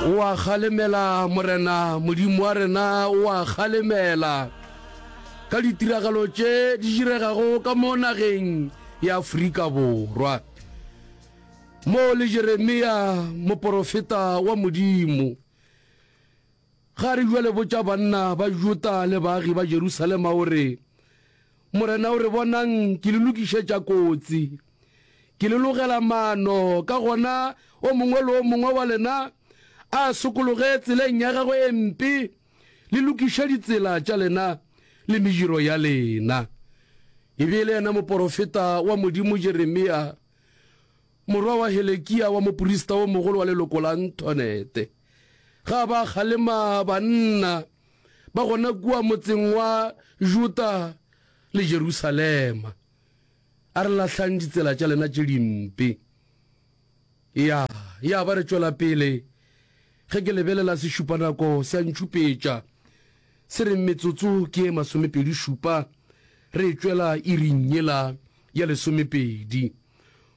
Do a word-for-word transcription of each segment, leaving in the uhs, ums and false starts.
O a kgalemela, Morena Modimo wa rena, o a kgalemela ka ditiragalo tše di diregago ka mo nageng ya Afrika Borwa. Mo le Jeremia moporofeta wa Modimo, ga re bjale botša banna ba Juda le baagi ba Jerusalema o re, Morena o re, Bonang, ke le lokišetša kotsi, ke le logela maano, ka gona o mongwe le o mongwe wa lena a sokologe tseleng ya gagwe e mpe, le lokiše ditsela tša lena le mediro ya lena. E be e le yena moporofeta wa Modimo Jeremia, morwa wa Helekia wa moprista o mogolo wa leloko la Nthonete. Ga ba kgalema banna ba gona kua motseng wa Juda le Jerusalema, a re lahlang ditsela tša lena tše dimpe. Ya, ya ba re tšwela pele. Ge ke lebelela sešupanako se a ntšhupetša, se re metsotso ke e masomepedi šupa re tšwela iring yela ya lesomepedi.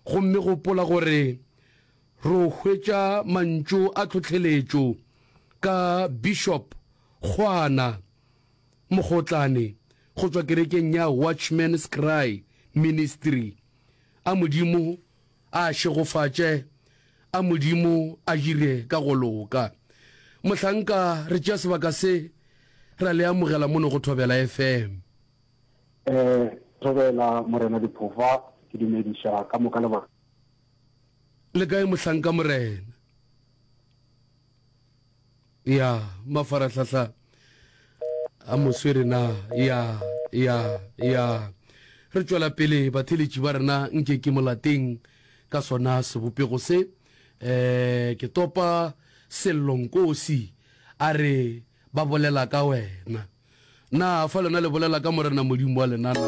Gomme gopola gore ro hwetša mantšu a tlhohleletšo ka Bishop Kgwana Mogotlane go tšwa kerekeng ya Watchman's Cry Ministry. A Modimo a šegofatše, a Modimo a dire ka go loka. Mohlanka, re tšea sebaka se ra le amogela mono go Thobela F M. Eh, Thobela Morena Diphofa, ke dumediša ka moka le ba. Le kae mohlanka Morena? Ya, mafarahlahla a moswere na? Ya, ya, ya. Re tšwela pele batheletši ba rena nke ke molateng ka sona sebopego se. Eh, ke topa Sello Nkosi a re ba bolela ka wena. Na fa lena le bolela ka Morena Modimo wa lena na?